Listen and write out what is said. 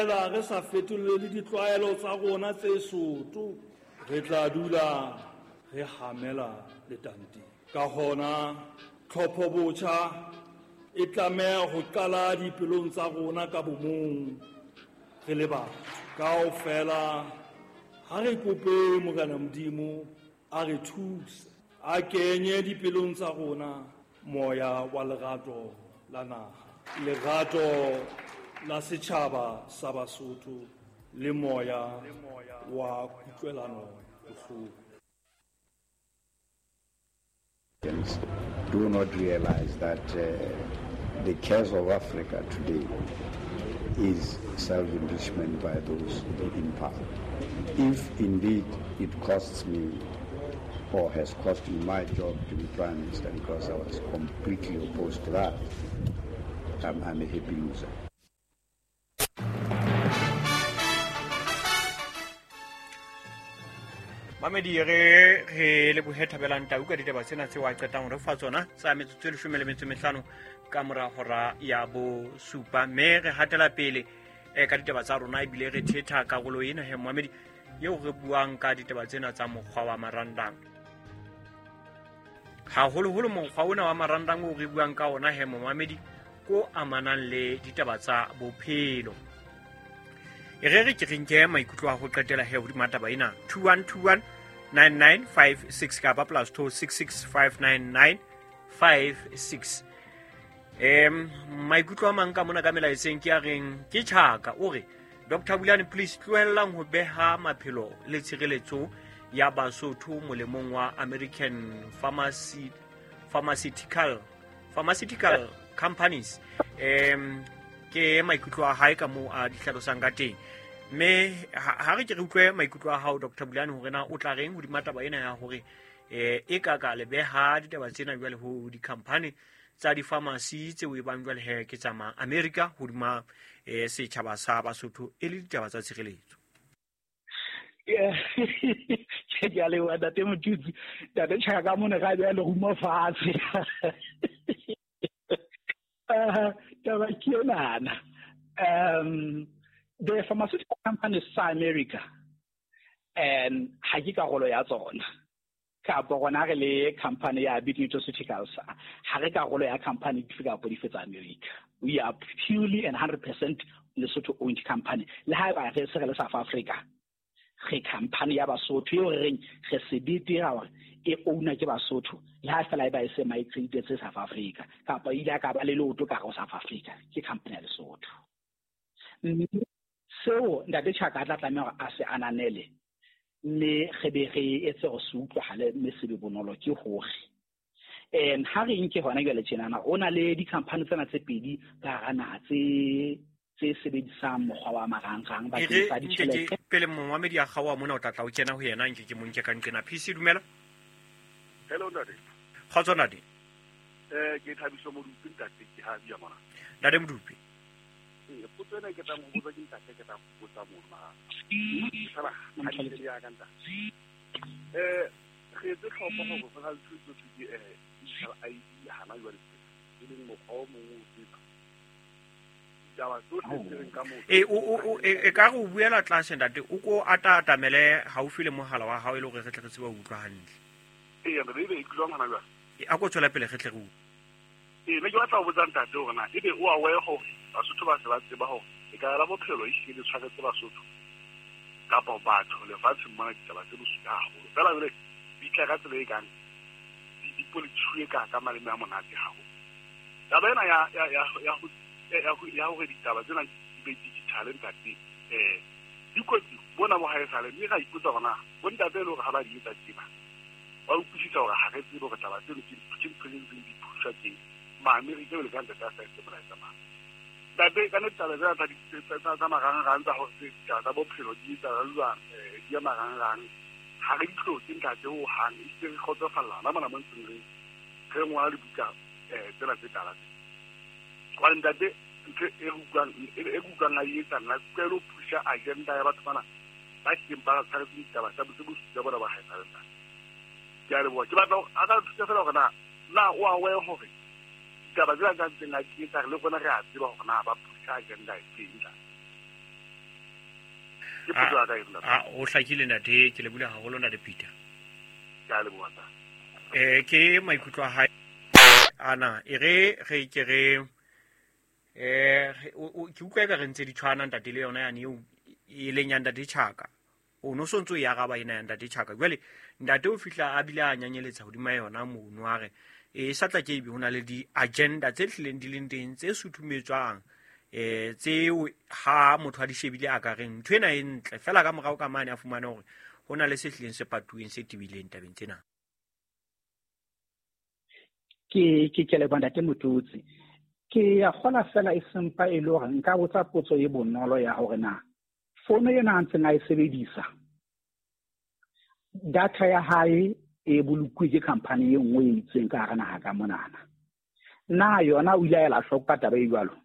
feela re sa fetolele ditlwaelo tsa rona tse soto, re tla dula re hamela letanteng. Ka hona, tlhopho botjha e tlameha ho qala dipelong tsa rona ka bomong re le batho. Kaofela ha re kope Morena Modimo a re thuse, a kenye dipelong tsa rona moya wa lerato la naha, lerato la setjhaba sa Basotho le moya wa kutlwelano bohloko. Do not realize that the curse of Africa today is self-enrichment by those in power. If indeed it costs me or has cost me my job to be Prime Minister, because I was completely opposed to that, I'm a happy loser. Mamedi re lebohe Thabelang Tau ka ditaba tsena tseo a qetang re fa tsona tsa metsotso e 15 ka mora hora ya 7, mme re hatela pele ka ditaba tsa rona ebile re thetha karolo ena he mamedi eo re buang ka ditaba tsena tsa mokgwa wa marangrang. Haholoholo mokgwa ona wa marangrang o re buang ka ona he mamedi ko amanang le ditaba tsa bophelo. E re ke re nke maikutlo a ho qetela he hodima taba ena 2121 9956 kapa +266 59956. Maikutlo a mang ka mona ka melaetseng ke a reng ke Tjhaka o re Dr. Bulane please tlohellang ho beha maphelo le tshireletso ya Basotho molemong wa American pharmaceutical companies. Ke maikutlo a hae ka moo a di hlalosang ka teng. Mme ha re ke re utlwe maikutlo a hao Dr. Bulane hore na o tla reng hodima taba ena ya hore e ka ka le beha ditaba tsena jwale ho di-company tsa di-pharmacy tseo e bang jwale he ke tsa ma America hodima setjhaba sa Basotho e le ditaba tsa tshireletso. Ke a leboha ntate Motutsi. Ntate Tjhaka ka mona ka beha lerumo fatshe. Taba ke enana. The pharmaceutical companies sa America and ha ke karolo ya tsona. Kapa rona re le company ya Bit Nutraceuticals, ha re karolo ya company dife kapa dife tsa America. We are purely and 100% Lesotho owned company. Le haeba re se re le South Africa, re company ya Basotho eo re reng re sebete hore e owner ke Basotho, le ha fela e ba e se migrated tse South Africa kapa ile ka ba le leoto ka go South Africa, ke company ya Lesotho. Mme seo ntate Tjhaka a tla tlameha hore a se ananele, mme re be re etse hore se utlwahale mme se be bonolo ke hore ha re nke hona jwale tjenana o na le di-company tsena tse pedi ka hara naha tse sebedisang mokgwa wa marangrang bakeng sa ditjhelete. Pele momamedi a kgaoha mona o tla tla o kena ho yena nke ke mo nke ka nqena. PC dumela. Hello ntate. Kgotso ntate. Ke Thabiso Modupi ntate, ke ha bia mona. Ntate Modupi. Potso ena ke tla mo botsa ke ntate, ke tla go botsa mona. Sala ha ke ya ka ntate. Re etse tlhopho gore go na le thuto tse di digital ID hana jwale e leng mokgwa o mongwe o tseba. Ditaba tsohle tse reng ka motho. E ka re o buela tlase ntate, o ko atatamele haufi le mohala wa hao e le hore re tle re tsebe ho utlwa hantle. Ee, ebe e utlwang hana jwale. A ko tswela pele re tle re utlwe. Ne ke batla ho botsa ntate hore na ebe o aware hore Basotho ba se ba tseba hore e ka la bophelo e hlile tshwaretse Basotho kapa batho lefatsheng mona ditaba tse bosula haholo. Fela jwale di tla ka tsela e kang di polititshwe ka maleme a monate haholo. Taba ena ya hore ditaba tsena di be digital ntate, dikotsi bona bo haesale mme ra ipotsa hore na bo ntate e le hore ha ba di etsa tjena ba utlwisisa hore ha re tsebe hore taba tseno ke ntho tse ntseng di phusha teng. Ma-Amerika jwale ka ntate a sa etse molaetsa mang. Ntate ka nnete taba tsena tsa marangrang tsa hore ditaba tsa bophelo di etsa jwang, di ya marangrang ha re di hloke ntate hohang, ehlile re kgotsofalla hona mona mo ntseng re ngola dibuka tsena tse tala tse. Hobane ntate ntho e re utlwang a e etsa nna ke lo pusha agenda ya batho bana ba tlileng ba tshwaretse ditaba tsa bosula bona ba haesale ntate. Ke a leboha. Ke batla a ka thusa fela hore na o aware hore ditaba tsena tsa ntseng a di etsa le rona re a tseba hore na ba pusha agenda e feng ntate. Ke potso ya ka e ntate. A o hlakile ntate, ke lebohile haholo ntate Peter. Ke a leboha ntate. Ke maikutlo a hae ana, e re re ke re ke utlwa eka re ntse di tshwana ntate le yona yane eo e leng ya ntate Chaka. O no sontso e araba ena ya ntate Chaka. Jwale ntate o fihla a bile a nyanyeletsa hodima yona mono a re e sa tla ke ebe ho na le di-agenda tse hlileng di leng teng tse suthumetswang tseo ha motho a di shebile a ka reng ntho ena e ntle fela ka morao ka mane a fumane hore ho na le se hlileng se patuweng se tebileng tabeng tsena. Ke leboha ntate Motutsi. Ke ya kgola fela e sempa e le hore nka botsa potso e bonolo ya hore na fono ena a ntseng a e sebedisa, data ya hae e bolokuwe ke company e nngwe e itseng ka hara naha ka monana. Na yona o ile a ela hloko ka taba e jwalo?